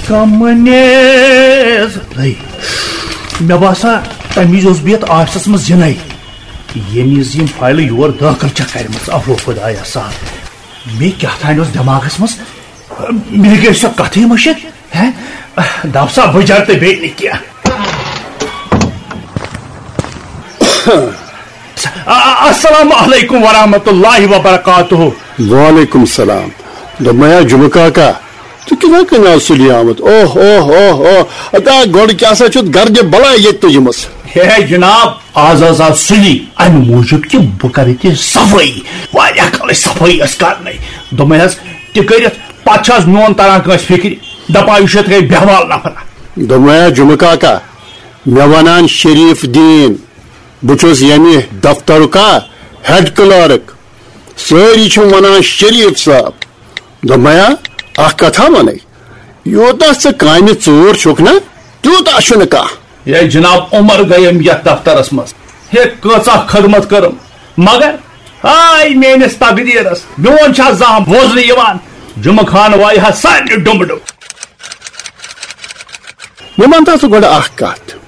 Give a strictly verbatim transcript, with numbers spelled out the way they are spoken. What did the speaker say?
کمنیز۔ ہے، مےٚ باسان، تَمہِ وِزِ اوس بہٕ یَتھ آفسَس منٛز زِنَے، ییٚمہِ وِزِ یِم فایلہٕ یور دٲخٕل چھےٚ کَرِمَژٕ۔ اوہ خۄدایا سا، مےٚ کیٛاہ تام اوس دٮ۪ماغَس منٛز، مےٚ گٔے سۄ کَتھٕے مٔشِتھ۔ ہے، دَپ سا بٕجَر تہٕ بیٚیہِ نہٕ کینٛہہ۔ آ، آ، السلام علیکم ورحمۃ اللہ وبرکاتہ۔ وعلیکم السلام۔ دوٚپمَے ہا جُمہٕ کاکا، ژٕ کِتھَے کٔنۍ آز سُلی آمُت؟ اوہ، اوہ، اوہ، اوہ۔ ادا گۄڈٕ کیٛاہ سا چھُتھ گردِ بلاے ییٚتہِ تُجمٕژ؟ ہے جناب، آز حظ آو سُلی اَمہِ موٗجوٗب کہِ بہٕ کَرٕ ییٚتہِ صفٲیی۔ واریاہ کالٕچ صفٲیی ٲس کَرنَے۔ دوٚپمَے حظ، تہِ کٔرِتھ پَتہٕ چھِ حظ میون تَران کٲنٛسہِ فِکرِ۔ دَپان یہِ چھُ یِتھ کٔنۍ بیٚہوال نفرا۔ دوٚپمَے ہا جُمہٕ کاکا، مےٚ وَنان شریٖف دیٖن، بہٕ چھُس ییٚمہِ دفترُک ہا ہیڈ کلارک۔ سٲری چھِم وَنان شریٖف صٲب۔ دوٚپمَے ہا، اَکھ کَتھا وَنَے، یوٗتاہ ژٕ کامہِ ژوٗر چھُکھ نا، تیوٗتاہ چھُنہٕ کانٛہہ۔ ہے جناب، عمر گٔیم یَتھ دفترَس منٛز۔ ہے کۭژاہ خدمت کٔرٕم، مگر ہاے میٲنِس تقدیٖرَس، میون چھا زانٛہہ بوزنہٕ یِوان؟ جُمہٕ خان وایہِ ہا سارنٕے ڈُمہٕ ڈُمہٕ۔ مےٚ وَن تہٕ ژٕ گۄڈٕ اَکھ کَتھ،